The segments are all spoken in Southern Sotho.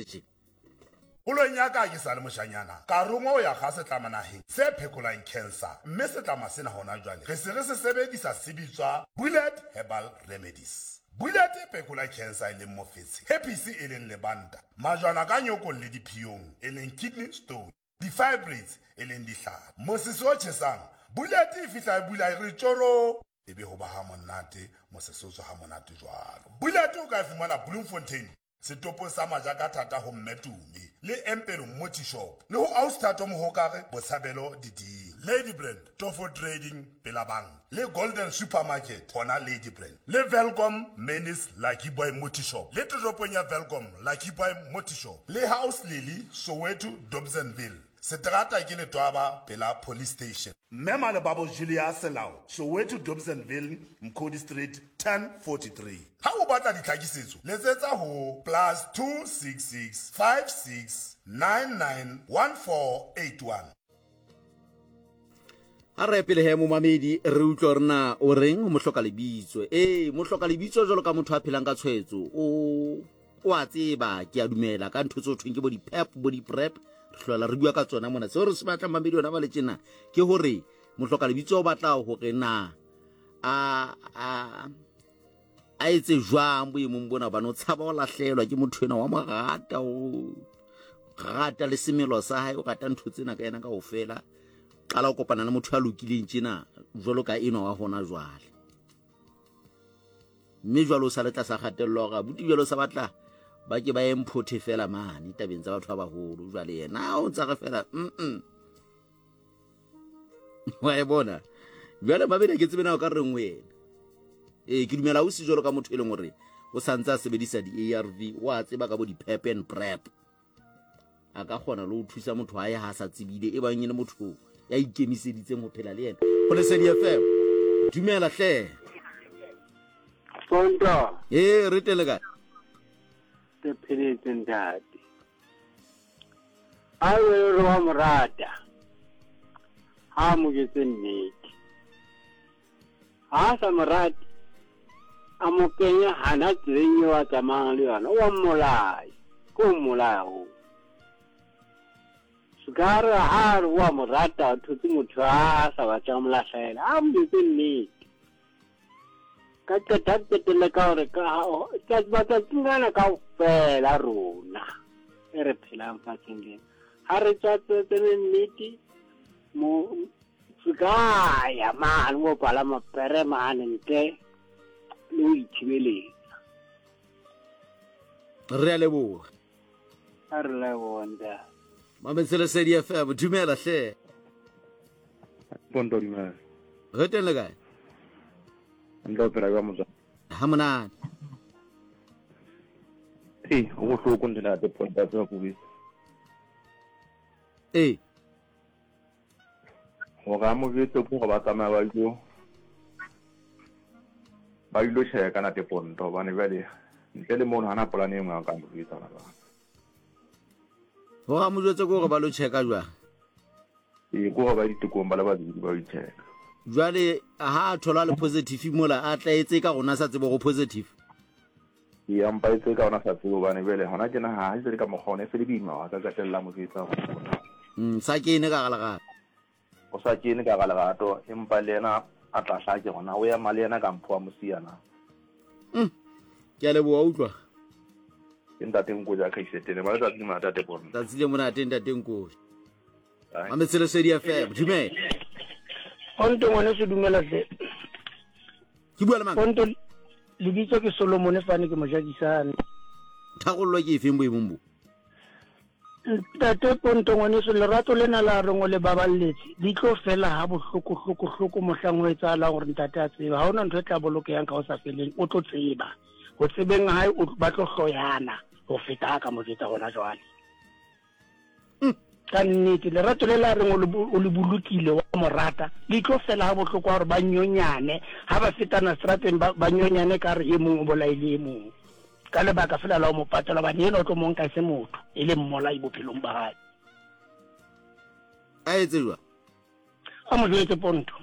tje. Kgolong ya ka ke sa le moshanyana, ka rongwa ho ya kga setlama naheng se phekolang cancer, mme setlama sena hona jwale re se re se sebedisa se bitswa Bullet Herbal Remedies. Bullet e phekola cancer e leng mofetshe, herpes e leng lebanta, majwana ka nyokong le diphiyong e leng kidney stone, di-fibroids e leng dihlala, mosese o tjhesang. Bullet e fihla e bula e re tjoro! E be ho ba ha monate, mosese o tswa ha monate jwalo. Bullet o ka e fumana Bloemfontein, Setopong sa Majakathata ho Mme Tumi le Empelo Moti Shop le ho Ausi Thato Mohokare Botshabelo Diding. Ladybrand, Tofo Trading pela banka le Golden Supermarket hona Ladybrand le Welkom Menis Lucky Boy Moti Shop le toropong ya Welkom Lucky Boy Moti Shop le House Lily Soweto Dobsonville. Seterata ke Letwaba pela Police Station. Mme Malebabo Julia Selao, Soweto Dobsonville, Mkhodi Street, 1043. Ha o batla ditlhakisetso, letsetsa ho plus 266 56 99 1481. A re pele he momamedi re utlwe gore na o reng ho mohloka lebitso. Ee, mohloka lebitso jalo ka motho a phelang ka tshwaetso o o a tseba ke a dumela ka ntho tse thweng ke bo di-pep bo di-prep re hlola re bua ka tsona mona seo re se batlang mamedi ona ba le tjena ke gore mohloka lebitso o batla gore na a a a etse jwang boemong bona hobane o tshaba o lahlelwa ke motho ena wa mo rata o rata le semelo sa hae o rata ntho tsena ka yena kaofela qala o kopana le motho ya lokileng tjena jwalo ka enwa wa hona jwale mme jwale o sa le tlasa kgatello ya gore abuti jwale o sa batla ba ke ba ye mphothe fela mane tabeng tsa batho ba bagolo jwale yena o ntsa re fela mm wa e bona jwale mabedi ke tsebe na o ka reng wena ee ke dumela o se jwalo ka motho e leng gore o santse a sebedisa di-arv o a tseba ka bo di-pep and prep a ka kgona le ho thusa motho aye ha sa tsebile e bang e le motho ya ikemiseditseng ho phela le yena go lesedi fm dumela hle Sonto. Ee, re tele kae? Re pheletse ntate. A re re wa morata. Ha mo jetse nnete. Ha a sa mo rate, a mo kenya hana tseleng eo a tsamayang le yona, o a mmolaya. Ke o mmolaya hoo. Se ka re ha a re o a mo rata, o thotse motho a sa batlang mo lahlela, a mo jwetse nnete. Ka qeta qetelle ka hore ka matsatsing ana kaofela rona e re phelang fatsheng lena, ha re tswa tsene nnete, mo Se ka ya mane mo palama pere mane ntle le ho ithibeletsa. Re a leboga. A re leboga ntate. Mametse Lesedi FM, dumela hle. Ponto dumela. Re teng le kae? Ntle o phela jwang motswadi? Ha monate. Ee, go bohloko ntate Ponto a tseba ko Ee. Gore a mo jwetse ke gore ba tsamaya ba ilo ba ilo checka nate ponto hobane jwale ntle le mono hana polane e nngwe a ka mo jwetsa hona jwale. Gore a mo jwetse ke gore ba lo checka jwang? Ee, ke gore ba ditekong ba le babedi ba yo checka. Jwale ha a thola le positive mola a tla etse ka rona sa tsebo go positive. Ee, a mpa etse ka ona sa tsebe hobane jwale hona tjena ha e se le ka mokgwa ona e se le boima wa ka qetella mo jwetsa hore Sa kene ka ga lerato. O sa kene ka ga lerato empa le yena a tla hlake hona o ema le yena ka mpho wa mosiya na. Ke a leboha utlwa. Ke ntate Nkoja Kaisetene ba letsatsi le monate tate Ponto. Tsatsi le monate ntate Nkoja. Mametse Lesedi FM, dumela. Ponto ngwaneso dumela hle. Ke bua le mang? Ponto lebitso ke Solomon fane ke mojakisane. Tharollo ke efeng boemong bo? Ntate Ponto ngwaneso lerato lena la reng o le baballetse di tlo fela ha bohloko hloko hloko mohlang ho etsahalang gore ntate a tsebe ha ona ntho e tla bolokeyang ka ho sa feleng o tlo tseba ho tsebeng hae ba tlo hloyana ho feta ha ka mo jwetsa hona jwale. Ka nnete lerato le la reng o le bolokile wa mo rata le tlo fela ga bohloko gore ba nyonyane ga ba fetana strateng ba nyonyane ka re e mong o bolaile e mong ka lebaka fela la o mo patela bane ena o tlo monka e se motho e le mmolai bophelong ba gae. A etse jwang? A mo jwetse Ponto.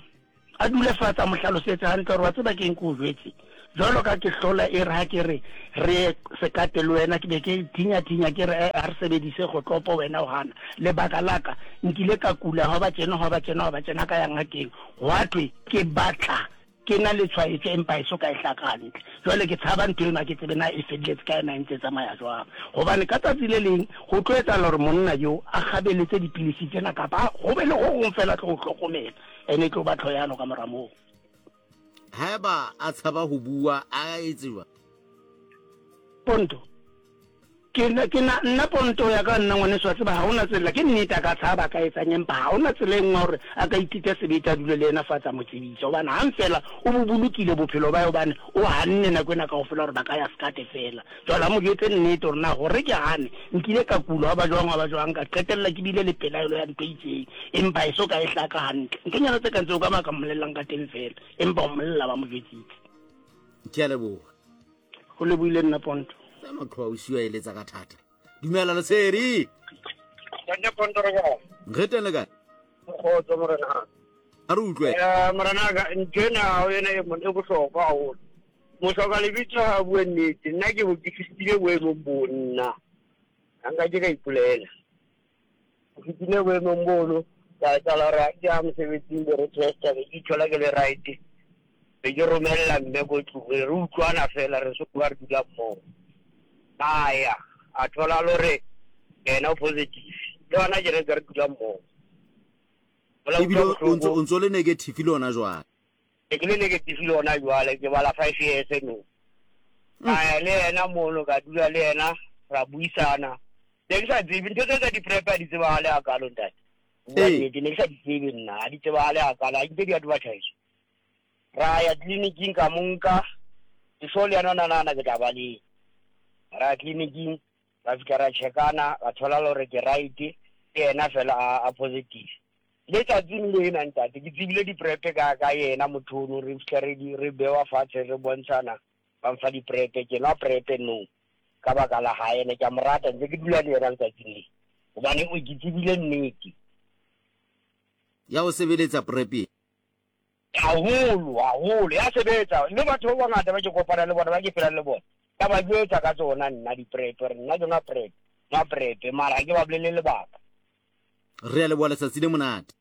A dule fatshe a mo hlalosetse hantle gore wa tseba ke eng ke o jwetse. Jwalo ka ke hlola e re ha ke re re ye sekate le wena, ke be ke thinya-thinya ke re, A re sebedise kgotlopo, wena o gana. Lebaka la ka, nkile ka kula gwa ba tjena, gwa ba tjena, gwa ba tjena, ka ya ngakeng, gwa thwe ke batla ke na le tshwaetso empa e so ka e hlaka hantle. Jwale ke tshaba ntho eno, ha ke tsebe na e felletse kae, na e ntse e tsamaya jwang. Gobane ka tsatsi le leng go tlo etsagala gore monna yo a kgabeletse dipilisi tsena kapa go be le go gong fela tlo go hlokomela, ene e tlo ba tlhoyano ka mora moo. Haeba a tshaba ho bua, a etse jwang? Ponto, Ke na, ke na, nna ponto ya ka nna ngwaneso wa tseba ha hona tsela, ke nnete a ka tshaba a ka etsang empa ha hona tsela e nngwe ya hore a ka itita sebete a dule le yena fatshe a mo tsebise hobane hang fela o bo bolokile bophelo ba hae hobane o hanne nako ena kaofela hore ba ka ya sekate fela. Jwale a mo jwetse nnete hore na hore ke hane nkile ka kula hwa ba jwang hwa ba jwang ka qetella ke bile le pelaelo ya ntho e itseng empa e so ka e hlaka hantle. Nthonyana tse kang tseo ka mo a ka mmolellang ka teng fela empa o mmolella ba mo jwetsitse. Ke a leboha. Go leboile nna Ponto. Tsa maqhoa o siwa eletsa ka thata. Dumela Lesedi. Ntate Ponto re kae? Re teng le kae? Kgotso morena. A re utlwe. Eh morena ka ntho ena ha ena e mon e bohlokwa haholo. Mohloka lebitso ha bue nnete. Nna ke bo ke fitile boemong bo nna. Ha nka ke ka ipolela. Ke fitile boemong bono ka etsahala hore ha ke ya mosebetsing be re testa be ke ithola ke le right. Be ke romella mme ko tlung re utlwana fela re so ba re dula mmogo. A ya a thola le hore yena o positive. Le hona ke re ntse re dula mmogo. Ebile o ntso le negative le ona jwale. Ke ke le negative le ona jwale ke bala 5 years no. Ka ya le yena mono ka dula le yena ra buisana. Ne ke sa tsebe ntho tse tsa di-prep ha di tsebahale hakalo ntate. Bua nnete ne ke sa di tsebe nna ha di tsebahale hakalo ha nke di advertise. Ra ya tleliniking ka mo nka ke sure le yena o na nahana ke tla ba le ra ya tleliniking ra fihla ra checkana ra thola le hore ke right ke yena fela a, a positive le tsatsing lena ntate ke tsebile di-prep ka ka yena motho ono re fihla re re bewa fatshe re bontshana ba mfa di-prep ke nwa prep no ka baka la hae ene ke a mo rata ntse ke dula le yena letsatsing le hobane o ke tsebile nnete ya ho sebeletsa prep Haholo, haholo. Ya sebetsa. Mme batho ba bangata ba ke kopana le bona, ba ke phelang le bona, ka ba jwetsa ka tsona nna di-prep, re nna ke nwa prep, nwa prep, mara ha ke ba bolelle lebaka. Re a leboha letsatsi le monate.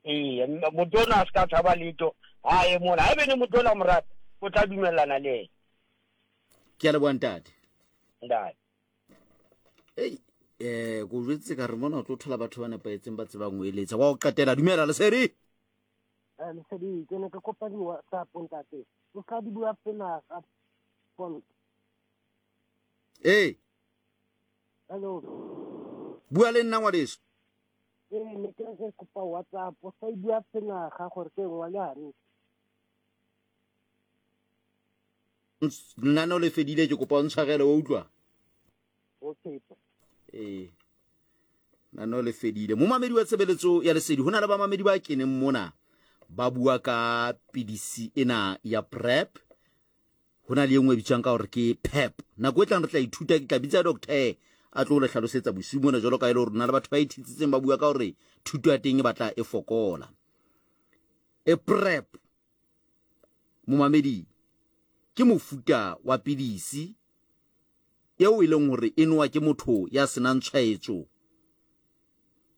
Ee, motho ona a se ka tshaba letho, ha ye mona. Haebe ne motho ona mo rata, o tla dumellana le yena. Ke a leboha ntate. Ntate. Ei, eh, ko jwetse ka re mona o tlo thola batho ba nepahetseng ba tsebang ho eletsa. Wa ho qetela, dumela Lesedi. Eh, Lesedi, ke ne ke kopa di-WhatsApp ntate. O ska di bua pela ka phone. Ee. Hello. Bua le nna ngwaneso. Ee, ne ke re ke kopa WhatsApp. O sa e bua pela ga gore ke ngwale hantle. Lenaneo le fedile ke kopa o ntshwarele wa utlwa. Okay. Ee. Lenaneo le fedile. Momamedi wa tshebeletso ya lesedi, ho na le bamamedi ba keneng mona ba bua ka pidisi ena ya PrEP. Ho na le e nngwe e bitswang ka hore ke PEP. Nako e tlang re tla ithuta, ke tla bitsa doctor a tlo le hlalosetsa bosiu mona jwalo ka e le hore na le batho ba ithitsitseng ba bua ka hore thuto ya teng e batla e fokola. E PrEP momamedi ke mofuta wa pidisi eo e leng hore e nowa ke motho ya senang tshwaetso,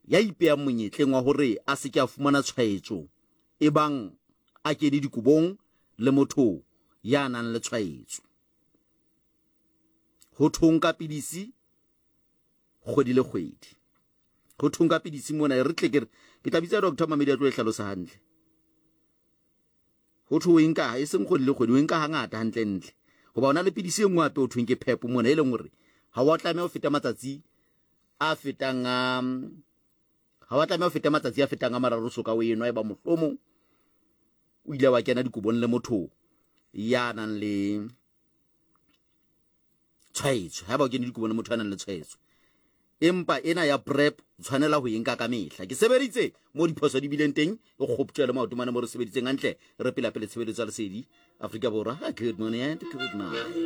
ya ipeyang monyetleng wa hore a se ke a fumana tshwaetso ebang a kene dikobong le motho ya nang le tshwaetso. Ho thong ka pidisi kgwedi le kgwedi. Ho thong ka pidisi mona e re tle ke re ke tla bitsa doctor Mamedi a tlo e hlalosa hantle. Ho thwe o e nka e seng kgwedi le kgwedi, o e nka hangata hantlentle. Hoba o na le pidisi e nngwe hape ho thweng ke PEP mona e leng hore ha wa tlameha ho feta matsatsi a fetang a ha wa tlameha ho feta matsatsi a fetang a mararo so ka o enwa eba mohlomong o ile wa kena dikobong le motho ya nang le tshwaetso ha ba o kene dikobo le motho a nang le tshwaetso empa ena ya prep tshwanela ho e nka ka mehla ke sebeditse mo diphoso di bileng teng e kgoptjwa le maoto mane mo re sebeditseng hantle re pela pele tshebeletso ya lesedi Afrika Borwa good morning and good night.